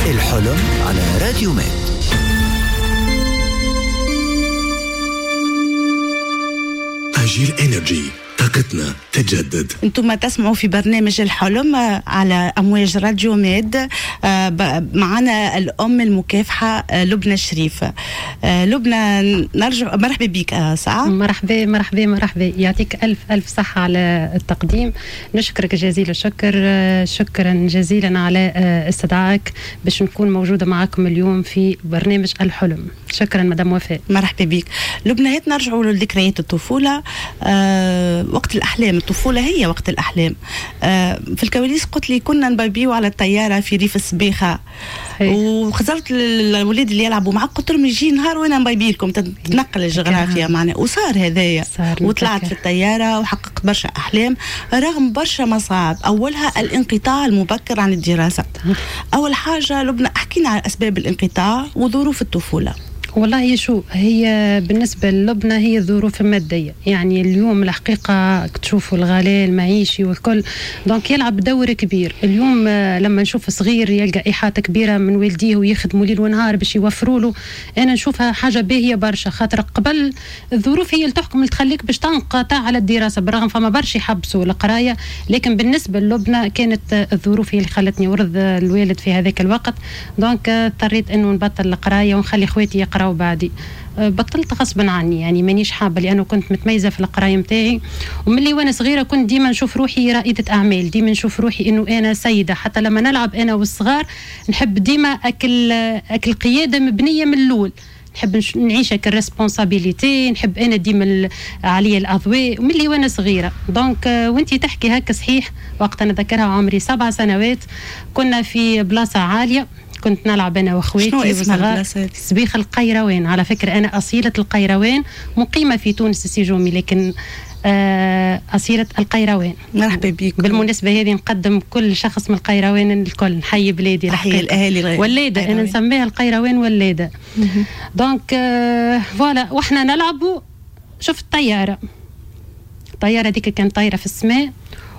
الحلم على راديو ميد. أجيل إنرجي، طاقتنا تجدد. انتم تسمعوا في برنامج الحلم على امواج راديو ميد، معنا الام المكافحه لبنى شريف. لبنى نرجع، مرحبا بك ساعة. مرحبا مرحبا مرحبا، يعطيك الف الف صحة على التقديم، نشكرك جزيل الشكر، شكرا جزيلا على استدعائك باش نكون موجودة معكم اليوم في برنامج الحلم. شكرا مدام وفاء. مرحبا بك لبنى. هات نرجعوا لذكريات الطفولة، وقت الأحلام. الطفولة هي وقت الأحلام. في الكواليس قلت لي كنا نبيبيو على الطيارة في ريف السبيخة، وخزرت الأولاد اللي يلعبوا معك قلت لهم يجي نهار وأنا نبيبي لكم، تتنقل الجغرافيا معنا، وصار هذايا، وطلعت في الطيارة وحققت برشا أحلام رغم برشا مصاعب، أولها الانقطاع المبكر عن الدراسة. أول حاجة لبنى احكينا على أسباب الانقطاع وظروف الطفولة. والله شو هي بالنسبة للبنى هي الظروف المادية، يعني اليوم الحقيقة تشوفوا الغلاء المعيشي والكل، donc يلعب دور كبير. اليوم لما نشوف صغير يلقى إحاطة كبيرة من والديه ويخدموا ليل ونهار باش يوفروا له، أنا نشوفها حاجة باهية برشا، خاطر قبل الظروف هي اللي تحكم، اللي تخليك باش تنقطع على الدراسة، بالرغم فما برشا يحبسوا القراية، لكن بالنسبة للبنى كانت الظروف هي اللي خلتني ورض الوالد في هذاك الوقت، donc اضطريت انه نبطل القراية ونخلي خواتي يقراوا بعدي. بطلت غصبا عني، يعني مانيش حابة، لانه كنت متميزة في القراية نتاعي، وملي وانا صغيرة كنت ديما نشوف روحي رائدة اعمال، ديما نشوف روحي انه انا سيده، حتى لما نلعب انا والصغار نحب ديما اكل قيادة مبنية من الاول، نحب نعيش هكا ال responsabilité، نحب انا ديما عليا الاضواء ملي وانا صغيرة. donc وانت تحكي هكا صحيح، وقت انا ذكرها عمري 7 سنوات، كنا في بلاصة عالية، كنت نلعب انا واخواتي وصغار، سبيخ القيروان. على فكرة انا اصيلة القيروان، مقيمة في تونس السيجومي، لكن أصيلة القيروان. مرحبا بك. بالمناسبة هذه نقدم كل شخص من القيروان الكل، نحيي بلادي، نحيي الأهالي ولاده، أنا نسميها القيروان ولاده. donc voilà، وإحنا نلعبوا شفت طيارة، الطيارة هذيك كانت طايرة في السماء،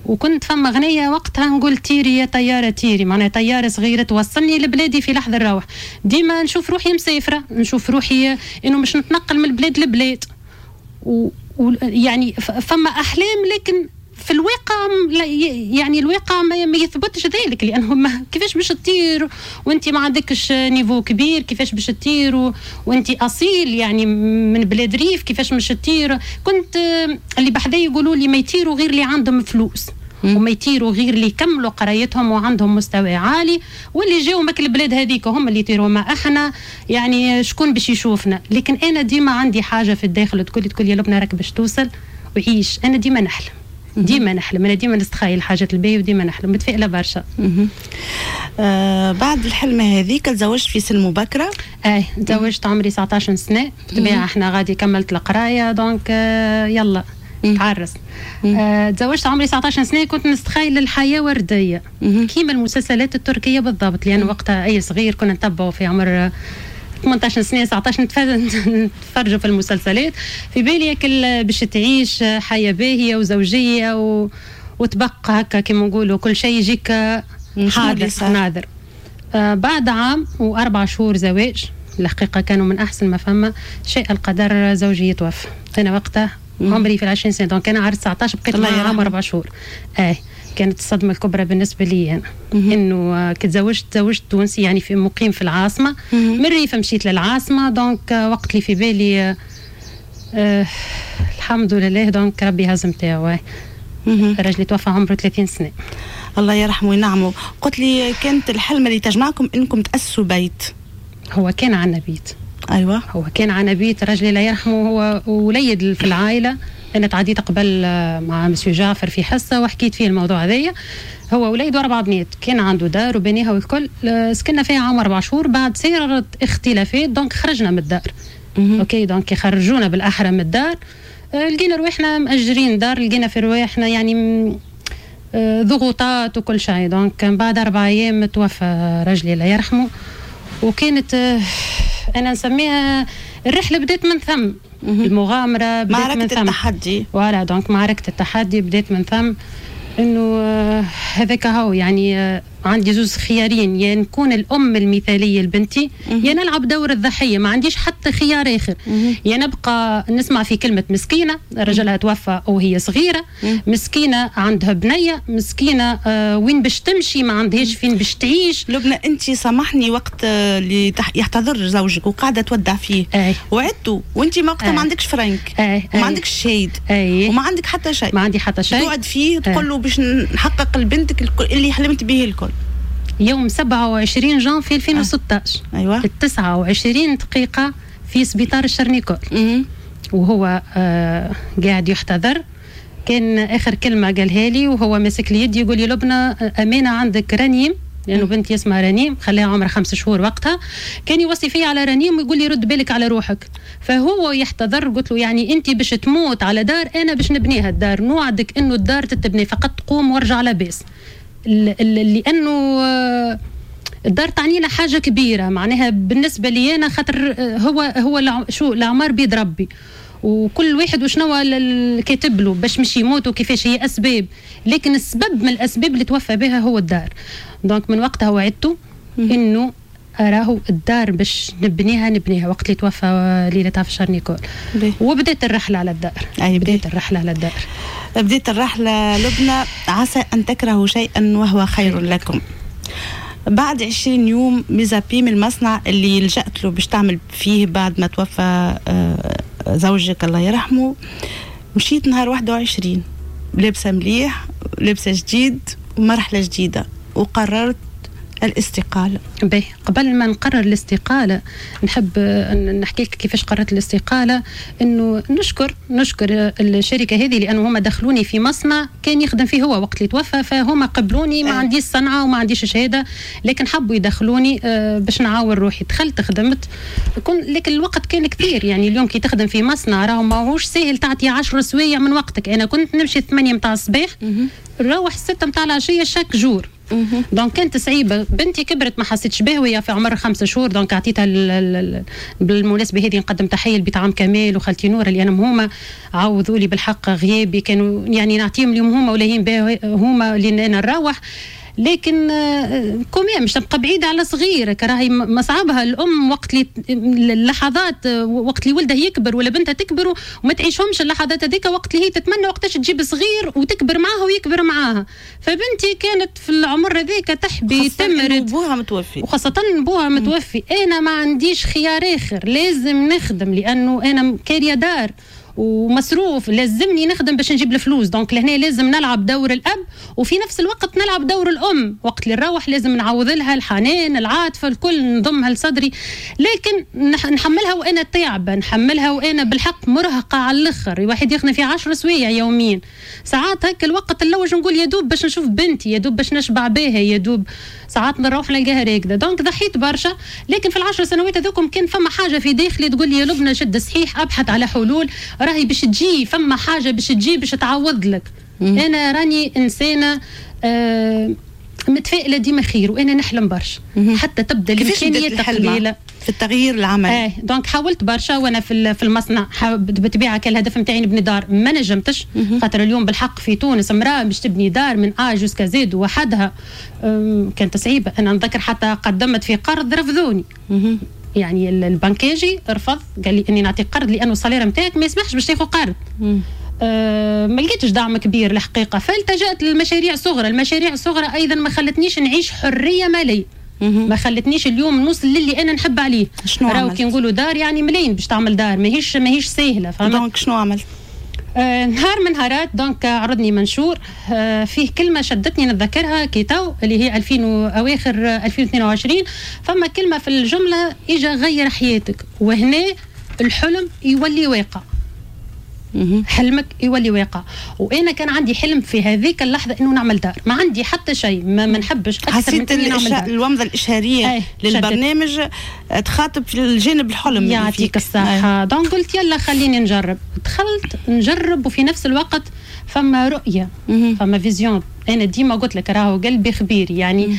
وكنت فما غنية وقتها نقول تيري يا طيارة تيري، معناها طيارة صغيرة توصلني لبلادي في لحظة الروح. ديما نشوف روحي مسافرة، نشوف روحي إنه مش نتنقل من بلاد لبلاد، يعني فما أحلام، لكن في الواقع يعني الواقع ما يثبتش ذلك، لأنه كيفاش باش تطير وانت ما عندكش niveau كبير، كيفاش باش تطير وانت أصيل يعني من بلاد ريف، كيفاش باش تطير؟ كنت اللي بحذايا يقولوا لي ما يطيروا غير اللي عندهم فلوس، وما يطيروا غير اللي يكملوا قرايتهم وعندهم مستوى عالي، واللي جاوا ماك البلاد هذيك هم اللي يطيروا، ما احنا يعني شكون باش يشوفنا. لكن انا ديما عندي حاجة في الداخل تقول يا لبنى راك باش توصل وعيش. انا ديما نحلم، ديما نحلم، انا ديما نستخيل الحاجات الباهيه وديما نحلم، متفائلة برشا. بعد الحلمة هذيك تزوجت في سن مبكرة؟ تزوجت عمري 19 سنة، بالطبيعة احنا غادي كملت القراية، donc يلا تعرس. تزوجت عمري 19 سنة، كنت نستخيل الحياة وردية كيما المسلسلات التركية بالضبط، لان وقتها اي صغير كنا نتبعوا في عمر 18 سنة 19 نتفرجوا في المسلسلات، في بالي كل باش تعيش حياة باهيه وزوجيه وتبقى هكا كيما نقولوا كل شيء يجيك حاضر ناظر. بعد عام و4 شهور زواج، الحقيقة كانوا من احسن ما فما، شيء القدر زوجي يتوفى. انا وقتها عمري في 20 سنة، donc انا عرست 19 بقيت معاه عام 4 شهور. كانت الصدمة الكبرى بالنسبة لي انا، انه كي تزوجت تونسي يعني في مقيم في العاصمة، من الريف مشيت للعاصمه، donc وقت اللي في بالي الحمد لله donc ربي هزم تاعو. الراجل توفى عمره 30 سنة، الله يرحمه وينعمه. قلت لي كانت الحلمة اللي تجمعكم انكم تاسسوا بيت. هو كان عندنا بيت. ايوه هو كان عندنا بيت، رجلي لا يرحمه هو وليد في العائلة. انا تعديت قبل مع مسيو جعفر في حصة وحكيت فيه الموضوع هذايا. هو وليد و4 بنات، كان عنده دار وبنيها والكل، سكننا فيها عام 4 شهور. بعد صارت اختلافات donc خرجنا من الدار. OK donc خرجونا بالاحرى من الدار، لقينا رواحنا مأجرين دار، لقينا في رواحنا يعني ضغوطات وكل شيء. donc بعد 4 ايام توفى رجلي الله يرحمه، وكانت انا نسميها الرحلة بدات من ثم، المغامرة بدات معركة من ثم، التحدي. voilà donc معركة التحدي بدات من ثم، انه هذاك هو يعني عندي زوز خيارين، يا نكون الام المثالية لبنتي يا نلعب دور الضحية، ما عنديش حتى خيار اخر. يا نبقى نسمع في كلمة مسكينه رجلها توفى وهي صغيرة، مسكينه عندها بنيه، مسكينه وين باش تمشي، ما عندهاش فين باش تعيش. لبنى انت سامحني، وقت اللي يحتضر زوجك وقاعدة تودع فيه وعدته وانت ما وقتها ما عندكش فرنك وما عندكش شهيد وما عندك حتى شيء، ما عندي حتى شيء، توعد فيه تقول له باش نحقق لبنتك اللي حلمت به الكل. يوم 27 جانفي 2016 ايوه 29 دقيقة في سبيطار الشرنيكول، وهو قاعد يحتضر. كان آخر كلمة قالها لي وهو ماسك لي يدي يقول لي لبنى أمانة عندك رنيم، لأنه بنتي اسمها رنيم، خليها عمرها 5 شهور وقتها. كان يوصي فيا على رنيم ويقول لي رد بالك على روحك. فهو يحتضر، قلت له يعني أنت باش تموت على دار، أنا باش نبنيها الدار، نوعدك أنه الدار تتبني، فقط قوم وارجع لاباس. لانه الدار تعنينا حاجة كبيرة معناها بالنسبة لي انا، خاطر هو شو الاعمار بيد ربي، وكل واحد وشنو كاتب له باش مش يموت وكيفاش هي اسباب، لكن السبب من الاسباب اللي توفى بها هو الدار. donc من وقتها وعدته انه راهو الدار باش نبنيها وقت اللي توفى ليلتها في شارنيكول. وبدات الرحلة على الدار. أي بدات الرحلة على الدار. بديت الرحلة لبنى. عسى أن تكرهوا شيئا وهو خير لكم. بعد 20 يوم mise à pied من المصنع اللي لجأت له باش تعمل فيه بعد ما توفى زوجك الله يرحمه، مشيت نهار 21 لابسة مليح، لابسة جديد ومرحلة جديدة، وقررت الاستقالة. باهي، قبل ما نقرر الاستقالة نحب نحكي لك كيفاش قررت الاستقالة. انه نشكر الشركة هذه لانه هما دخلوني في مصنع كان يخدم فيه هو وقت اللي توفى، فهما قبلوني، ما عنديش صنعة وما عنديش شهادة، لكن حبوا يدخلوني باش نعاون روحي. دخلت خدمت، لكن الوقت كان كثير. يعني اليوم كي تخدم في مصنع راهو ماهوش ساهل تعطي 10 سوايع من وقتك. انا كنت نمشي 8 متاع الصباح نروح 6 متاع العشية chaque jour. donc كانت صعيبة. بنتي كبرت ما حسيتش بها وهي في عمر 5 شهور، donc عطيتها بالمناسبة هذه نقدم تحية لبيت عم كمال وخالتي نور اللي انا هما عوضوا لي بالحق غيابي، كانوا يعني نعطيهم اليوم هما ولاهين بها هما اللي انا نروح. لكن quand même مش تبقى بعيدة على صغيرك، راهي مصعبها الأم وقت اللي اللحظات وقت اللي ولدها يكبر ولا بنتها تكبر وما تعيشهمش اللحظات هذيك، وقت اللي هي تتمنى وقتاش تجيب صغير وتكبر معاها ويكبر معاها. فبنتي كانت في العمر هذيك تحبي تمرد، بوها متوفي، وخاصة بوها متوفي. أنا ما عنديش خيار آخر، لازم نخدم لأنه أنا كارية دار ومصروف، لازمني نخدم باش نجيب الفلوس. donc لهنا لازم نلعب دور الاب وفي نفس الوقت نلعب دور الام. وقت اللي نروح لازم نعوض لها الحنان، العاطفة، الكل نضمها لصدري، لكن نحملها وانا تعبه، نحملها وانا بالحق مرهقة على الاخر. واحد يخدم في 10 سوايع يوميا، ساعات هكا الوقت نلوج نقول يا دوب باش نشوف بنتي، يا دوب باش نشبع بها، يا دوب ساعات نروح نلقاها راكده. donc ضحيت برشا، لكن في ال10 سنوات هذوكم كان فما حاجة في داخلي تقول لي يا لبنى شد صحيح، ابحث على حلول، راهي باش تجي، فما حاجة باش تجي باش تعوض لك. انا راني انسانه متفائلة ديما خير، وانا نحلم برشا حتى تبدا الامكانيات قليله في التغيير العملي. donc حاولت برشا وانا في المصنع. بالطبيعة كان الهدف نتاعي نبني دار، ما نجمتش، خاطر اليوم بالحق في تونس امراة باش تبني دار من A jusqu'à Z وحدها كانت صعيبة. انا نذكر حتى قدمت في قرض رفضوني. يعني البنكاجي رفض، قال لي اني نعطيك قرض لانه ال salaire نتاعك ما يسمحش باش تاخذ قرض. ما لقيتش دعم كبير الحقيقة، فالتجأت للمشاريع الصغرى. المشاريع الصغرى ايضا ما خلتنيش نعيش حرية ماليه، ما خلتنيش اليوم نوصل للي انا نحب عليه. شنو راهو كي نقولوا دار يعني ملايين باش تعمل دار، ماهيش ساهله، فهمت؟ donc شنو عملت؟ نهار من نهارات donc عرضني منشور فيه كلمة شدتني نتذكرها كي تو، اللي هي 2000 اواخر 2022. فما كلمة في الجملة اجا غير حياتك، وهنا الحلم يولي واقع. حلمك يولي واقع. وانا كان عندي حلم في هذيك اللحظة انه نعمل دار، ما عندي حتى شيء، ما نحبش اكثر من اني نعمل دار. الومضه الاشهاريه للبرنامج تخاطب في الجانب الحلم، يعطيك الصحة. donc قلت يلا خليني نجرب، دخلت نجرب، وفي نفس الوقت فما رؤية، فما vision. انا ديما قلت لك راهو قلبي خبير، يعني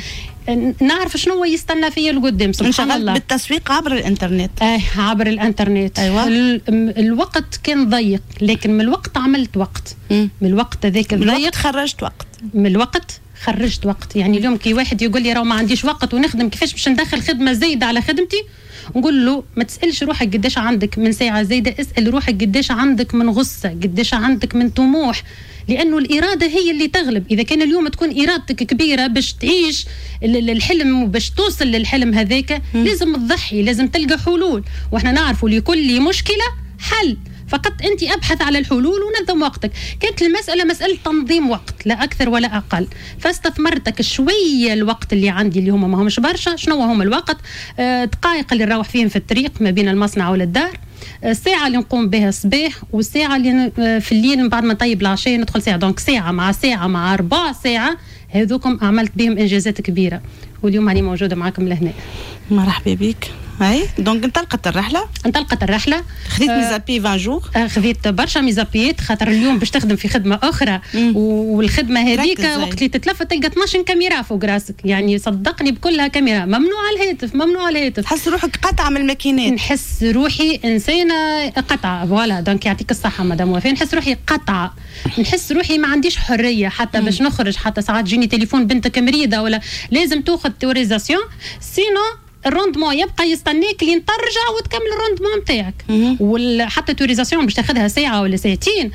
نعرف شنو هو يستنى فيا لقدام. سبحان الله. بالتسويق عبر الانترنت. عبر الانترنت. أيوة. الوقت كان ضيق، لكن من الوقت عملت وقت. من الوقت هذاك الضيق خرجت وقت. من الوقت خرجت وقت. يعني اليوم كي واحد يقول لي راهو ما عنديش وقت ونخدم، كيفاش باش ندخل خدمة زايدة على خدمتي؟ نقول له ما تسالش روحك قداش عندك من ساعة زايدة، اسال روحك قداش عندك من غصة، قداش عندك من طموح، لانه الارادة هي اللي تغلب. اذا كان اليوم تكون ارادتك كبيرة باش تعيش الحلم وباش توصل للحلم هذاك، لازم تضحي، لازم تلقى حلول، واحنا نعرفوا لكل مشكلة حل، فقط انت ابحث على الحلول ونظم وقتك. كانت المسالة مسالة تنظيم وقت، لا اكثر ولا اقل. فاستثمرتك شوية الوقت اللي عندي اللي هما ما همش برشا. شنو هما الوقت؟ دقائق اللي نروح فيهم في الطريق ما بين المصنع ولا الدار، الساعة اللي نقوم بها الصباح، والساعة اللي في الليل من بعد ما نطيب العشاء ندخل ساعة. donc ساعة مع ساعة مع ربع ساعة، هذوكم عملت بهم انجازات كبيرة، واليوم راني موجودة معكم لهنا. مرحبا بك. اي donc انطلقت الرحلة. انطلقت الرحلة. خذيت mise à pied 20 jours. خذيت برشا mise à pied، خاطر اليوم باش تخدم في خدمة اخرى، والخدمة هذيك وقت اللي تتلفت تلقى 12 كاميرا فوق راسك، يعني صدقني بكلها كاميرا، ممنوع الهاتف، ممنوع الهاتف. تحس روحك قطعه من الماكينات. نحس روحي انسانه قطعه، voilà. donc يعطيك الصحة مدام وفاء، نحس روحي قطعه، نحس روحي ما عنديش حرية حتى باش نخرج، حتى ساعات تجيني تليفون بنتك مريضه ولا لازم تاخذ autorisation، sinon ال rendement يبقى يستناك لين ترجع وتكمل ال rendement نتاعك. وحتى autorisation باش تاخذها ساعة ولا ساعتين،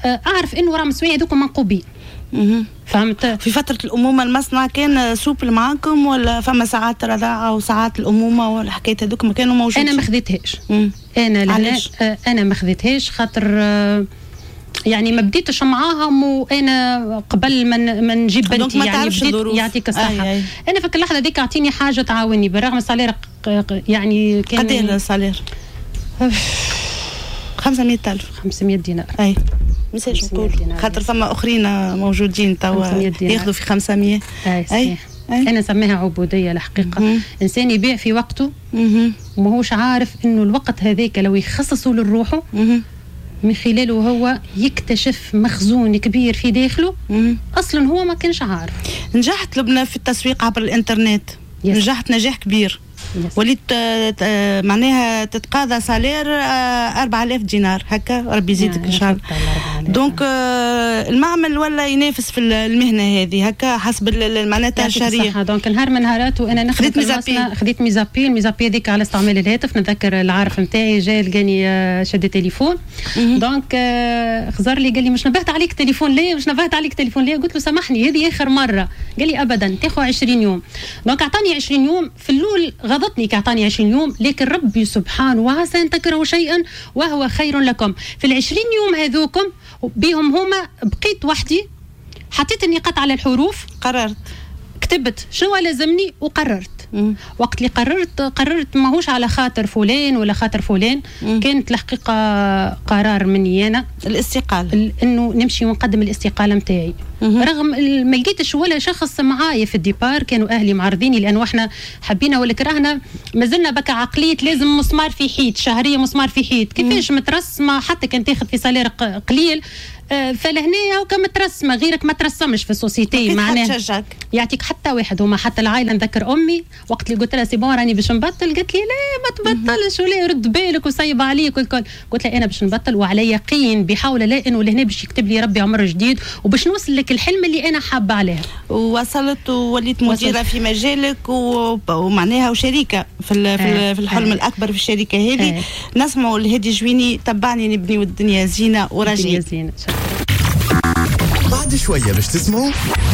اعرف انه راهم السوايع هذوك منقوبين. فهمت؟ في فترة الأمومة المصنع كان souple معاكم ولا فما ساعات رضاعة وساعات الأمومة والحكاية هذوك ما كانوا موجودين؟ أنا ما خذيتهاش. أنا ما خذيتهاش خاطر يعني ما بديتش معاهم، وانا قبل ما نجيب بنتي يعني بديت. يعطيك الصحة. أي. انا في اللحظة ديك اعطيني حاجة تعاوني، بالرغم ال salaire يعني كان قد ايه ال salaire؟ 500,000. 500 دينار. اي مساج نقول خاطر فما اخرين موجودين توا ياخذوا في 500. اي صحيح. انا نسميها عبودية الحقيقة. انسان يبيع في وقته وماهوش عارف انه الوقت هذاك لو يخصصه لروحه من خلاله هو يكتشف مخزون كبير في داخله اصلا هو ما كانش عارف. نجحت لبنى في التسويق عبر الانترنت. نجحت نجاح كبير. وليت معناها تتقاضى salaire 4000 دينار هكا، ربي يزيدك ان شاء الله. donc المعمل ولا ينافس في المهنة هذه هكا حسب معناتها الشريعة. donc نهار من نهارات وانا نخدم في المصنع خذيت mise à pied. ال mise à pied هذيك على استعمال الهاتف. نتذكر العارف نتاعي جا لقاني شد تليفون. donc خزر لي قال لي مش نبهت عليك تليفون ليه؟ مش نبهت عليك تليفون ليه؟ قلت له سامحني هذه اخر مرة. قال لي ابدا تاخذ 20 يوم. donc اعطاني 20 يوم. في الاول غضتني كعطاني 20 يوم، لكن ربي سبحانه وعسى ان تكرهوا شيئا وهو خير لكم. في ال20 يوم هذوكم بهم هما بقيت وحدي، حطيت النقاط على الحروف، قررت، كتبت شنو لازمني وقررت. وقت اللي قررت ماهوش على خاطر فلان ولا خاطر فلان. كانت الحقيقة قرار مني انا الاستقالة، انه نمشي ونقدم الاستقالة نتاعي. رغم ما لقيتش ولا شخص معايا في ال départ، كانوا اهلي معارضيني لانه احنا حبينا ولا كرهنا مازلنا بكى عقلية لازم مسمار في حيط، شهرية مسمار في حيط، كيفاش مترسمه حتى كان تاخذ في salaire قليل. فلهنا هو مترسمه، غيرك ما ترسمش في ال société معناها يعطيك حتى واحد. هما حتى العائلة، نذكر امي وقت اللي قلت لها c'est bon راني باش نبطل، قالت لي لا ما تبطلش ولا رد بالك وسيب عليك والكل. قلت لها انا باش نبطل وعلى يقين بحول الله انه لهنا باش يكتب لي ربي عمر جديد وباش نوصل لك الحلم اللي انا حابة عليه. وصلت ووليت مديره في مجالك ومعناها وشريكه في الحلم الاكبر في الشركة هذه. نسمعوا الهادي جويني تبعني نبني والدنيا زينة وراجعين. بعد شوية باش تسمعوا